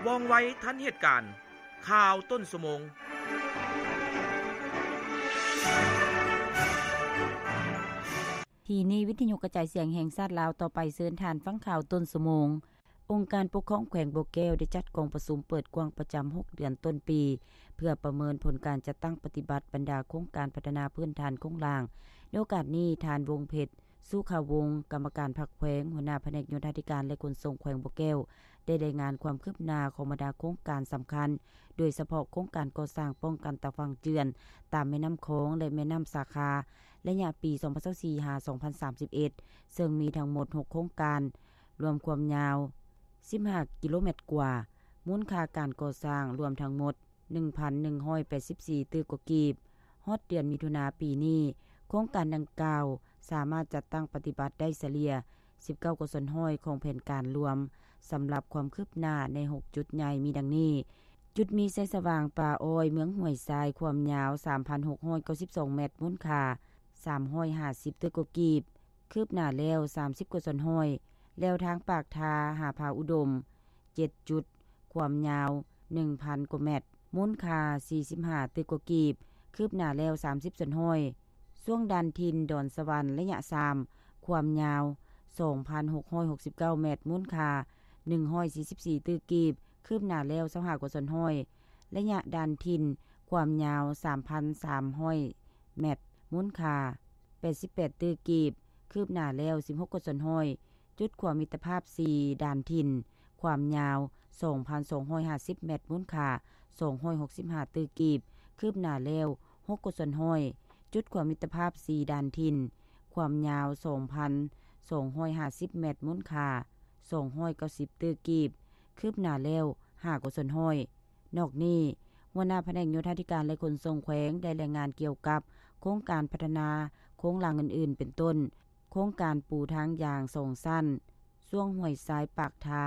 ວ່ອງໄວທັນເຫດການ. ຂ່າວຕົ້ນຊົ່ວໂມງ. ທີ່ນີ້ ວິທະຍຸກະຈາຍສຽງແຫ່ງຊາດລາວ ຕໍ່ໄປເຊີນທ່ານຟັງຂ່າວຕົ້ນຊົ່ວໂມງ. ອົງການປົກຄອງແຂວງບໍ່ແກ້ວ ໄດ້ຈັດກອງປະຊຸມເປີດກວ້າງປະຈຳຫົກເດືອນຕົ້ນປີ ເພື່ອປະເມີນຜົນການຈັດຕັ້ງປະຕິບັດບັນດາໂຄງການພັດທະນາພື້ນຖານໂຄງລ່າງ. ໃນໂອກາດນີ້, ທ່ານ ວົງເພັດ ສຸຂະວົງ ກຳມະການພັກແຂວງ, ຫົວໜ້າພະແນກໂຍທາທິການ ແລະ ຂົນສົ່ງແຂວງບໍ່ແກ້ວ ໄດ້ລາຍງານຄວາມຄືບໜ້າຂອງບັນດາໂຄງການສຳຄັນ, ໂດຍສະເພາະໂຄງການກໍ່ສ້າງປ້ອງກັນຕາຝັ່ງເຈື່ອນຕາມແມ່ນ້ຳຂອງ ແລະ ແມ່ນ້ຳສາຂາ ໄລຍະປີສອງພັນຊາວສີ່ ຫາ ສອງພັນສາມສິບເອັດ ເຊິ່ງມີທັງໝົດຫົກໂຄງການ, ລວມຄວາມຍາວສິບຫ້າກິໂລແມັດກວ່າ, ມູນຄ່າການກໍ່ສ້າງລວມທັງໝົດ ໜຶ່ງພັນໜຶ່ງຮ້ອຍແປດສິບສີ່ຕື້ກວ່າກີບ. ຮອດເດືອນມິຖຸນາປີນີ້, ໂຄງການດັ່ງກ່າວສາມາດຈັດຕັ້ງປະຕິບັດໄດ້ສະເລ່ຍສິບເກົ້າກວ່າສ່ວນຮ້ອຍຂອງແຜນການລວມ. ສຳລັບຄວາມຄືບໜ້າໃນຫົກຈຸດໃຫຍ່ມີດັ່ງນີ້: ຈຸດມີໄຊສະຫວ່າງປ່າອ້ອຍ ເມືອງຫ້ວຍຊາຍ ຄວາມຍາວສາມພັນຫົກຮ້ອຍເກົ້າສິບສອງແມັດ, ມູນຄ່າສາມຮ້ອຍຫ້າສິບຕື້ກວ່າກີບ, ຄືບໜ້າແລ້ວສາມສິບກວ່າສ່ວນຮ້ອຍ. ແລວທາງປາກທາຫາຜາອຸດົມ ເຈັດຈຸດ, ຄວາມຍາວໜຶ່ງພັນກວ່າແມັດ, ມູນຄ່າສີ່ສິບຫ້າຕື້ກວ່າກີບ, ຄືບໜ້າແລ້ວສາມສິບສ່ວນຮ້ອຍ. ຊ່ວງດ່ານຖິ່ນດອນສະຫວັນໄລຍະສາມ, ຄວາມຍາວສອງພັນຫົກຮ້ອຍຫົກສິບເກົ້າແມັດ, ມູນຄ່າໜຶ່ງຮ້ອຍສີ່ສິບສີ່ຕື້ກີບ, ຄືບໜ້າແລ້ວຊາວຫ້າກວ່າສ່ວນຮ້ອຍ. ໄລຍະດ່ານຖິ່ນ, ຄວາມຍາວສາມພັນສາມຮ້ອຍແມັດ, ມູນຄ່າແປດສິບແປດຕື້ກີບ, ຄືບໜ້າແລ້ວສິບຫົກກວ່າສ່ວນຮ້ອຍ. ຈຸດຂົວມິດຕະພາບສີ່ ດ່ານຖິ່ນ, ຄວາມຍາວສອງພັນສອງຮ້ອຍຫ້າສິບແມັດ, ມູນຄ່າສອງຮ້ອຍຫົກສິບຫ້າຕື້ກີບ, ຄືບໜ້າແລ້ວຫົກກວ່າສ່ວນຮ້ອຍ. ຈຸດຂົວມິດຕະພາບສີ່ ດ່ານຖິ່ນ, ຄວາມຍາວສອງພັນສອງຮ້ອຍຫ້າສິບແມັດ, ມູນຄ່າສອງຮ້ອຍເກົ້າສິບຕື້ກີບ, ຄືບໜ້າແລ້ວຫ້າກວ່າສ່ວນຮ້ອຍ. ນອກນີ້, ຫົວໜ້າພະແນກໂຍທາທິການ ແລະ ຂົນສົ່ງແຂວງ ໄດ້ລາຍງານກ່ຽວກັບໂຄງການພັດທະນາໂຄງລ່າງອື່ນໆ ເປັນຕົ້ນ ໂຄງການປູທາງຢາງສອງຊັ້ນ ຊ່ວງຫ້ວຍຊາຍ ປາກທາ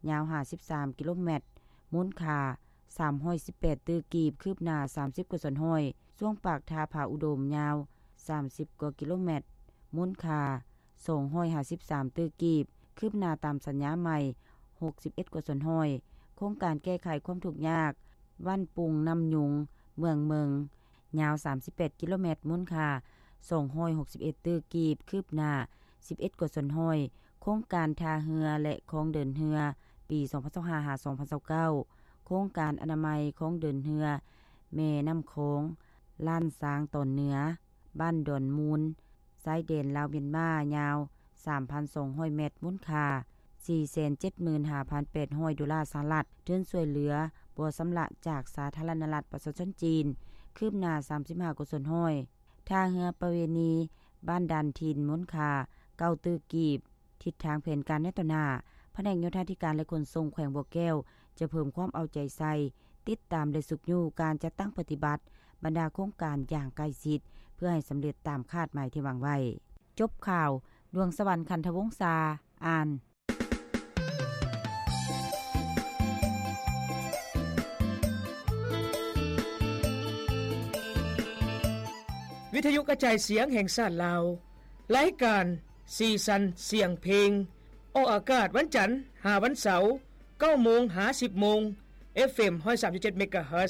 ຍາວຫ້າສິບສາມກິໂລແມັດ, ມູນຄ່າສາມຮ້ອຍສິບແປດຕື້ກີບ, ຄືບໜ້າສາມສິບກວ່າສ່ວນຮ້ອຍ. ຊ່ວງປາກທາຜາອຸດົມ ຍາວສາມສິບກວ່າກິໂລແມັດ, ມູນຄ່າສອງຮ້ອຍຫ້າສິບສາມຕື້ກີບ, ຄືບໜ້າຕາມສັນຍາໃໝ່ຫົກສິບເອັດກວ່າສ່ວນຮ້ອຍ. ໂຄງການແກ້ໄຂຄວາມທຸກຍາກ ບ້ານປຸງນ້ຳຍຸງ ເມືອງເມິງ ຍາວສາມສິບແປດກິໂລແມັດ, ມູນຄ່າສອງຮ້ອຍຫົກສິບເອັດຕື້ກີບ, ຄືບໜ້າສິບເອັດກວ່າສ່ວນຮ້ອຍ. ໂຄງການທ່າເຮືອ ແລະ ຄອງເດີນເຮືອ ປີສອງພັນຊາວຫ້າ ຫາ ສອງພັນຊາວເກົ້າ, ໂຄງການອະນາໄມຄອງເດີນເຮືອແມ່ນ້ຳຂອງ ລ້ານຊ້າງຕອນເໜືອ ບ້ານດອນມູນ ຊາຍແດນລາວ-ມຽນມາ ຍາວສາມພັນສອງຮ້ອຍແມັດ, ມູນຄ່າສີ່ແສນເຈັດໝື່ນຫ້າພັນແປດຮ້ອຍໂດລາສະຫະລັດ. ທຶນຊ່ວຍເຫຼືອບໍ່ຊຳລະຈາກສາທາລະນະລັດປະຊາຊົນຈີນ ຄືບໜ້າສາມສິບຫ້າກວ່າສ່ວນຮ້ອຍ. ທ່າເຮືອປະເວນີ ບ້ານດ່ານຖິ່ນ, ມູນຄ່າເກົ້າຕື້ກີບ. ທິດທາງແຜນການໃນຕໍ່ໜ້າ, ພະແນກໂຍທາທິການ ແລະ ຂົນສົ່ງແຂວງບໍ່ແກ້ວ ຈະເພີ່ມຄວາມເອົາໃຈໃສ່, ຕິດຕາມ ແລະ ຊຸກຍູ້ການຈັດຕັ້ງປະຕິບັດບັນດາໂຄງການຢ່າງໃກ້ຊິດ ເພື່ອໃຫ້ສຳເລັດຕາມຄາດໝາຍທີ່ວາງໄວ້. ຈົບຂ່າວ, ດວງສະຫວັນ ຂັນທະວົງສາ ອ່ານ. ວິທະຍຸກະຈາຍສຽງແຫ່ງຊາດລາວ, ລາຍການສີສັນສຽງເພງ ອອກອາກາດວັນຈັນຫາວັນເສົາ ເກົ້າໂມງຫາສິບໂມງ, ເອັຟເອັມ ຮ້ອຍສາມຈຸດເຈັດ ເມກາເຮີດ.